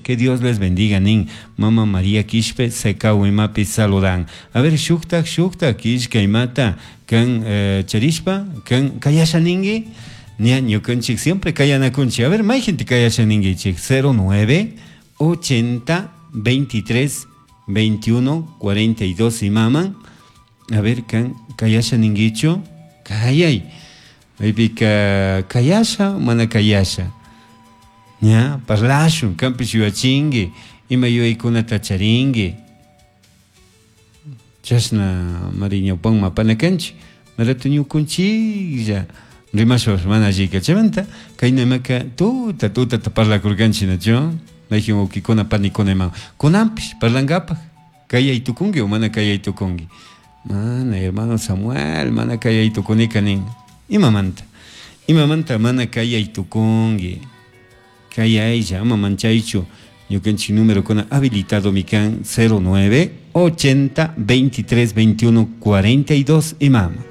Que Dios les bendiga nin. Mama María Quishpe Secahuimapi saludan. A ver, shuktak, shuktak, killka imata kan charishpa, kan kayasha ningui. Ña ñukanchik siempre kayanakunchik. A ver, mayjinti kayasha ninguichik. 09 80 23 21 42 imaman. A ver, kan kayasha ninguichu. Kayay. Maypika kayasha, mana kayasha. Ña, parlashun, kanpish yuyachinki, ima yuyaykunata charinki. Chashna mari ñawpanman apana kanchik, marato ñukunchiklla rimashpapish mana allika. Chaymanta kayna imaka tuta tutata parlakurkanchik nachu, mayjin wawkikuna panikuna ima kunanpish parlankapak kayay tukunki o mana kayay tukunki. Mana hermano Samuel, mana kayay tukunika nin. Imamanta? Imamanta mana kayay tukunki? Kayaylla, ama manchaychu. Ñukanchik numerokuna habilitadomi kan 09 80 23 21 42 imama.